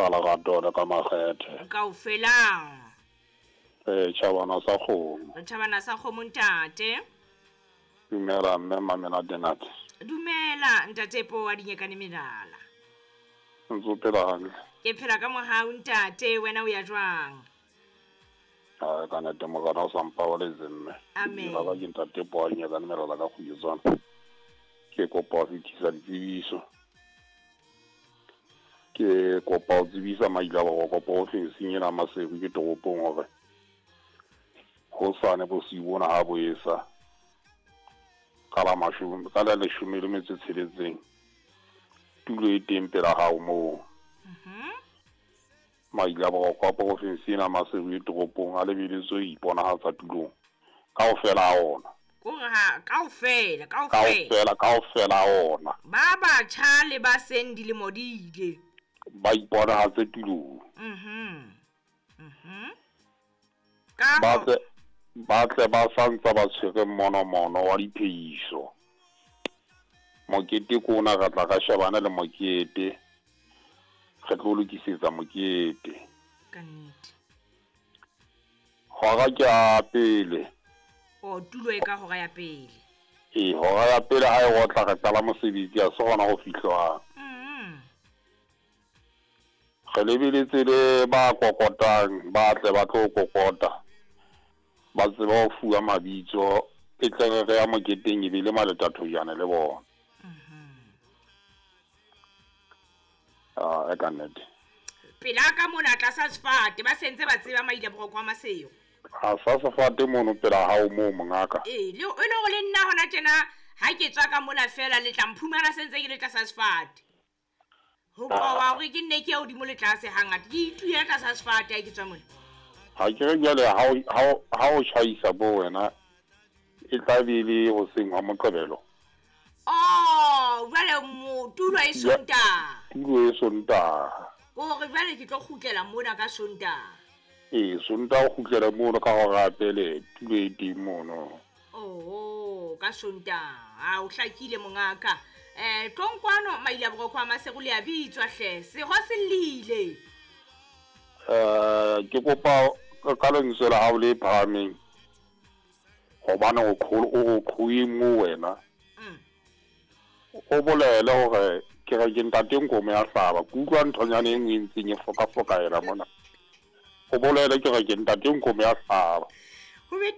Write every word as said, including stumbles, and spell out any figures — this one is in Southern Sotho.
Ka lerato le ka makgethe. Kaofela. Eh tjhabana sa kgomo. Re tjhabana sa kgomo ntate. Dumela mme Mamenatenate. Dumela ntate Po wa Dinyekane Melala. Ntse o phela hantle. Ke phela ka mohau ntate, wena o ya jwang? Ah, ka nnete morena o sa mpabaletse mme. Amen. Ke ke ntate Po wa Dinyekane Melala ka kgwedi. Ke kopa ho fetisa ditsebiso. Ke kopa ho tsebisa maila ba kopa ofising ena Maseru ke toropong hore hosane bosiu bona ha bo esa ka la mashome ka la leshome le metso e tsheletseng tulo e teng pela hao moo. Mhm. Maila ba kopa ofising ena Maseru e toropong a lebeletswe ho iponahatsa tulong kaofela ha ona. Kore ha kaofela kaofela kaofela kaofela ha ona. Ba batjha le ba seng dilemo di ile. Ba iponahatse tulong. Mhm. Mhm. Ka Ba tle ba tle ba santsa ba tshwere monomono wa diphehiso. Mokete ke ona re tla ka shebana le mokete. Re tlo lokisetsa mokete. Ka nnete. Hora ke ya pele. O tulo e ka hora ya pele. Ee, hora ya pele ha e otla re qala mosebetsi ha se hona ho fihlwang. Mhm. Re lebeletse le ba kokotang, ba tle ba tlo kokota. Ba tsebe ho fuwa mabitso, e tle re re ya moketeng e be le maletathojana le bona. Mhm. Ah, e ka nnete. Pela ka mona tlasa sefate ba sentse ba tseba maila boroko wa Maseru. Ha sa sefate mono pela hao moo mongaka. Ee, le e le hore le nna hona tjena ha ke tswa ka mona fela le tla mphumana sentse ke le tlasa sefate. Ho qoba hore ke nne ke ya hodimo le tlase hangata ke itulela tlasa sefate ha ke tswa mona. Ha ke re jwale ha o ha o tjhaisa bo wena e tla be le hoseng ha Moqebelo. Oh, jwale mo tulo e Sontaha. Tulo e Sontaha. Hore jwale ke tlo kgutlela mona ka Sontaha. Ee, Sontaha o kgutlela mono ka hora ya pele tulo e teng mono. Oh, ka Sontaha. Ha o hlakile mongaka. Eh, tlong kwano maila boroko wa Maseru le a bitswa hle. Seho se llile. Eh, ke kopa ka lentswe la hao le phahameng. Hobane o qholo o qhoeng mo wena. Mm. O bolele hore ke re ke ntate Nkomo ya hlaba. Ke utlwa nthonyana e nngwe e ntseng e fokafokaela mona. O bolele ke re ke ntate Nkomo ya hlaba. Ho be